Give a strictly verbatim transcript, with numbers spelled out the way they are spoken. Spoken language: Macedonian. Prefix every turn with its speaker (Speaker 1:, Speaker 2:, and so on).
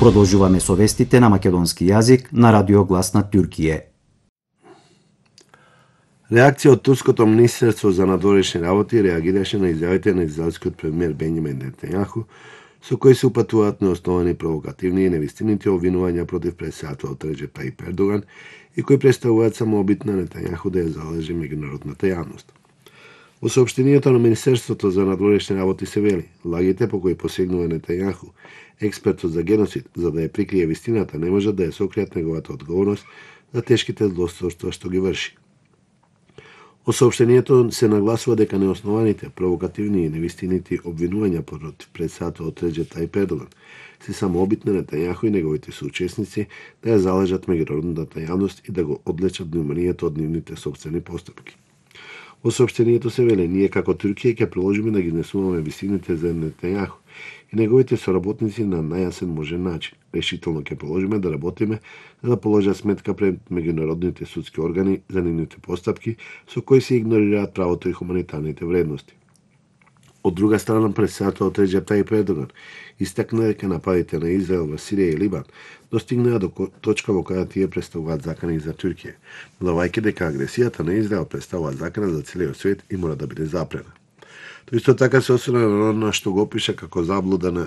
Speaker 1: Продолжуваме со вестите на македонски јазик на Радио Глас на Туркије.
Speaker 2: Реакција од турското министерство за надворешни работи реагираше на изјавите на израелскиот премиер Бенјамин Нетањаху, со кои се упатуваат неосновани провокативни и невистините обвинувања против претседателот Реџеп Тајип Ердоган и кои представуваат само обид на Нетањаху да ја залежи меѓународната јавност. Во соопштението на Министерството за надворешни работи се вели: лагите по кои посегнува Нетањаху, експертот за геноцид, за да ја прикрие вистината, не можат да ја сокријат неговата одговорност за тешките злосторства што ги врши. Во соопштението се нагласува дека неоснованите, провокативни и невистинити обвинувања против претседателот Реџеп Тајип Ердоган се само обид на Нетањаху и неговите соучесници да ја залежат меѓународната јавност и да го одлечат вниманието од нивните сопствени постапки. Во соопштението се вели: ние како Туркија ќе продолжиме да ги изнесуваме вистините за Нетањаху и неговите соработници на најасен можен начин. Решително ќе продолжиме да работиме за да положат сметка пред меѓународните судски органи за нивните постапки со кои се игнорираат правото и хуманитарните вредности. Од друга страна, претседателот Реџеп Тајип Ердоган истакна дека нападите на Израел во Сирија и Либан достигнаа до точка во која тие представуваат закана и за Туркија, додавајќи дека агресијата на Израел представува закана за целиот свет и мора да биде запрена. Тој исто така се осврна на што го опиша како заблуда на